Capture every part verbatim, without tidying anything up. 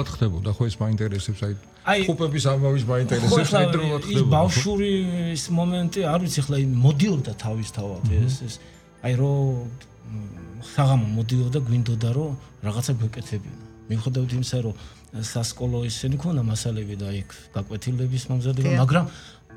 დროულად ხდებოდა, ხო ეს მაინტერესებს, აი ხუპების ამბავის მაინტერესებს, აი დროულად ხდებოდა. ის ბავშვური ის მომენტი, არ ვიცი, ხლა მოდიოდა თავისთავად ეს ეს აი რომ საღამო მოდიოდა, გვინდოდა რომ რაღაცა გვეკეთებინა. მიუხედავად იმისა, რომ სასკოლო ისინი ქონდა მასალები და იქ გაკვეთილების მომზადება, მაგრამ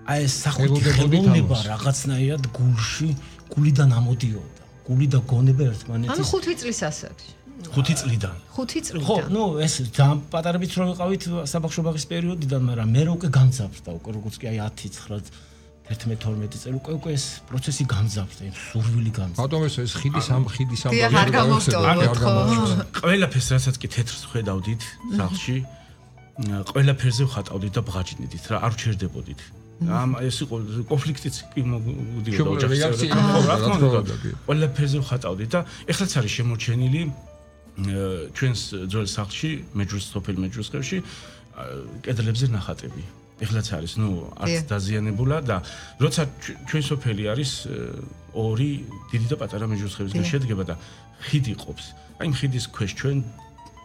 აი ეს სახვითი ხელოვნება რაღაცნაირად გულში, გულიდან ამოდიოდა. გული და გონება ერთმანეთის. ანუ ხუთი წლის ასაკში. ხუთი წლიდან. ხუთი წლიდან. ხო, ნუ ეს ძალიან პატარებით რო ვიყავით საბავშვო ბაღის პერიოდიდან, მაგრამ მე უკვე განძაფრდა, უკვე როგორც კი აი ათი, ცხრა, თერთმეტი, თორმეტი წელი უკვე უკვე ეს პროცესი განძაფრდა, იმ სურვილი განძაფრდა. ბატონო ეს ხიდის ამ ხიდის ამ არ გამოვტოვოთ ხო? ყველაფერს რასაც კი თეთრს ხედავდით სახლში, ყველაფერზე ვხატავდით და ბღაჭინდით რა, არ ვჩერდებოდით. ამ ეს იყო კონფლიქტიც კი მოდიოდა ოჯახში. ყველაფერზე ვხატავდით და ეხლაც არის შემორჩენილი ჩვენს ძველ სახლში, მეჯურის სოფელ მეჯურის ხევში კედლებზე ნახატები. ეხლაც არის, ნუ არც დაზიანებულა და როცა ჩვენ სოფელი არის ორი დიდი და პატარა მეჯურის ხევისგან შედგება და ხიდი ყოფს. აი ხიდის ქვეშ ჩვენ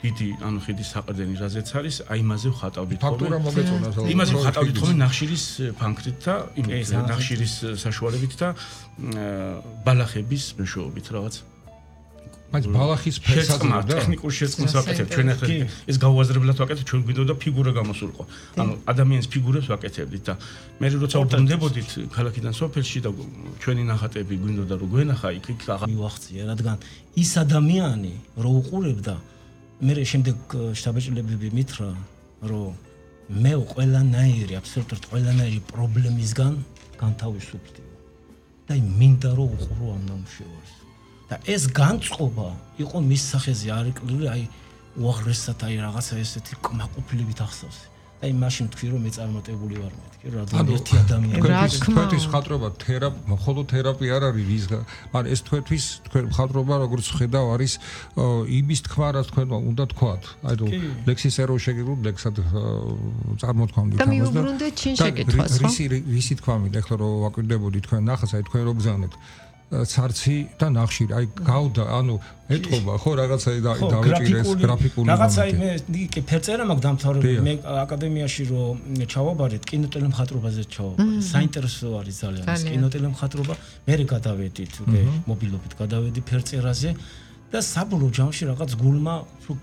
დიდი ანუ ხიდის საყრდენი რაზეც არის, აი იმაზე ვხატავდით ხოლმე. ფაქტურა მოგეწონა თქო. იმაზე ვხატავდით ხოლმე ნახშირის ფანქრით და იმ ნახშირის საშუალებით და ბალახების მეშვეობით რაღაც. բայց ბალახის ფერსაც და ტექნიკურ შეწყმას ვაკეთებთ. ჩვენ ახლა ეს გაუაზრებლად ვაკეთებთ, ჩვენ გვინდოდა ფიგურა გამოსულიყო. ანუ ადამიანის ფიგურებს ვაკეთებდით და მე როცა ვბრუნდებოდით ქალაქიდან სოფელში და ჩვენი ნახატები გვინდოდა რომ გვენახა იქ იქ მივახციე, რადგან ის ადამიანი რო უყურებდა მე შემდეგ შტაბ-ჭილებები მითხრა, რომ მე ყველანაირი, აბსოლუტურად ყველანაირი პრობლემისგან განთავისუფლდი. და მინდა რომ უყურო ამ ნამუშევარს. და ეს განწყობა იყო მის სახეზე არიკლული, აი უაღრესად აი რაღაცა ესეთი კმაყოფილებით ახსოვს. და აი მაშინ თქვი რომ მე წარმატებული ვარ მეთქი, რადგან ერთი ადამიანი თქვენთვის მხატვრობა თერაპ, მხოლოდ თერაპია არ არის რის, მაგრამ ეს თქვენთვის თქვენ მხატვრობა როგორც ხედავ არის იმის თქვა რა თქვენმა უნდა თქვათ. აი რომ ლექსის ერო შეგიძლიათ ლექსად წარმოთქვამდით ამას და მიუბრუნდეთ ჩინ შეკითხვას, ხო? რისი რისი თქვა მინდა ახლა რომ ვაკვირდებოდი თქვენ ნახას, აი თქვენ რო გზავნეთ ცარცი და ნახშირი, აი გავდა, ანუ ეთყობა ხო რაღაცა დავეჭირეს გრაფიკული რაღაცა მე კი ფერწერა მაქვს დამთავრებული, მე აკადემიაში რომ ჩავაბარეთ კინოტელემხატვრობაზე ჩავაბარეთ. საინტერესო არის ძალიან ეს კინოტელემხატვრობა, მე გადავედით უკვე მობილობით გადავედი ფერწერაზე და საბოლოო ჯამში რაღაც გულმა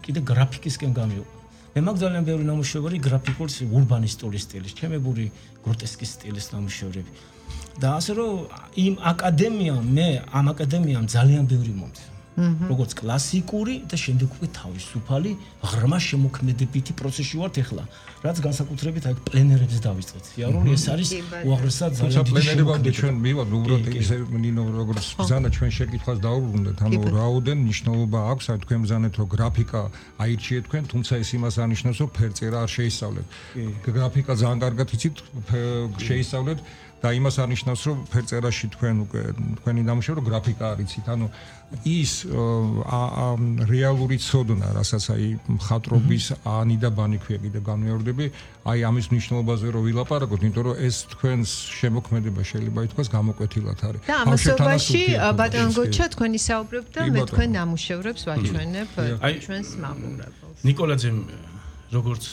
კიდე გრაფიკისკენ გამიყვანა. მე მაქვს ძალიან ბევრი ნამუშევარი გრაფიკულ ურბანისტული სტილის, ჩემებური გროტესკის სტილის ნამუშევრები. და ასე რომ იმ აკადემიამ მე ამ აკადემიამ ძალიან ბევრი მომწია. როგორც კლასიკური და შემდეგ უკვე თავისუფალი ღრმა შემოქმედებითი პროცესში ვართ ახლა. რაც განსაკუთრებით აი პლენერებს დავიწყეთ. სიარული ეს არის უაღრესად ძალიან დიდი პლენერებამდე ჩვენ მივად უბრალოდ ისე ნინო როგორც ბრძანა ჩვენ შეკითხვას დაუბრუნდეთ. ანუ რაოდენ მნიშვნელობა აქვს აი თქვენ ბრძანეთ რომ გრაფიკა აირჩიეთ თქვენ, თუმცა ეს იმას არნიშნავს რომ ფერწერა არ შეისწავლეთ. გრაფიკა ძალიან კარგად იცით, შეისწავლეთ და იმას არნიშნავს რომ ფერწერაში თქვენ უკვე თქვენი ნამუშევარი გრაფიკა არ იცით. ანუ ის რეალური ცოდნა, რასაც აი მხატვრობის ანი და ბანი ქვია კიდე განმეორდები, აი ამის მნიშვნელობაზე რომ ვილაპარაკოთ, იმიტომ რომ ეს თქვენს შემოქმედება შეიძლება ითქვას გამოკვეთილად არის. და ამასობაში ბატონ გოჩა თქვენ ისაუბრებთ და მე თქვენ ნამუშევრებს ვაჩვენებ ჩვენს მაყურებელს. ნიკოლაძემ როგორც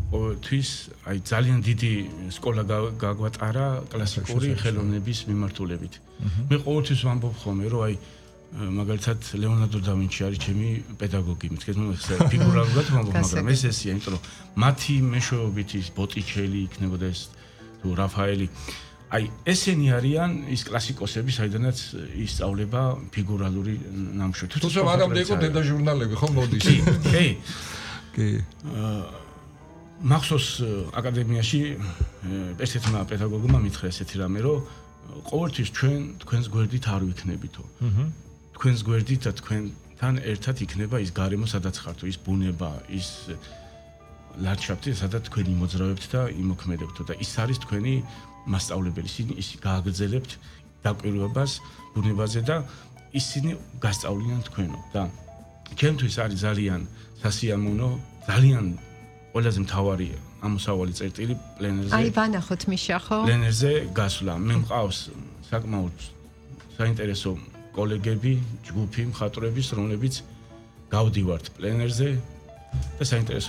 თვის აი ძალიან დიდი სკოლა გაგვატარა კლასიკური ხელოვნების მიმართულებით. მე ყოველთვის ვამბობ ხოლმე რომ აი მაგალითად ლეონარდო და ვინჩი არის ჩემი პედაგოგი, მეთქეთ ნუ ეს ფიგურალურად ვამბობ, მაგრამ ეს ესეა, იმიტომ რომ მათი მეშვეობით ის ბოტიჩელი იქნებოდა ეს თუ რაფაელი. აი ესენი არიან ის კლასიკოსები, საიდანაც ისწავლება ფიგურალური ნამუშევრები. თუმცა არამდე იყო დედა ჟურნალები, ხო მოდის. კი. კი. მახსოვს აკადემიაში ერთ-ერთმა პედაგოგმა მითხრა ესეთი რამე, რომ ყოველთვის ჩვენ თქვენს გვერდით არ ვიქნებითო. თქვენს გვერდით და თქვენთან ერთად იქნება ის გარემო, სადაც ხართო, ის ბუნება, ის ლანდშაფტი, სადაც თქვენ იმოძრავებთ და იმოქმედებთო და ის არის თქვენი მასწავლებელი. ის გააგრძელებთ დაკვირვებას ბუნებაზე და ისინი გასწავლიან თქვენო და ჩემთვის არის ძალიან სასიამოვნო, ძალიან ყველაზე მთავარი ამოსავალი წერტილი პლენერზე. აი ვანახოთ მიშა ხო? პლენერზე გასვლა. მე მყავს საკმაოდ საინტერესო კოლეგები, ჯგუფი მხატვრების, რომლებიც გავდივართ პლენერზე და საინტერესო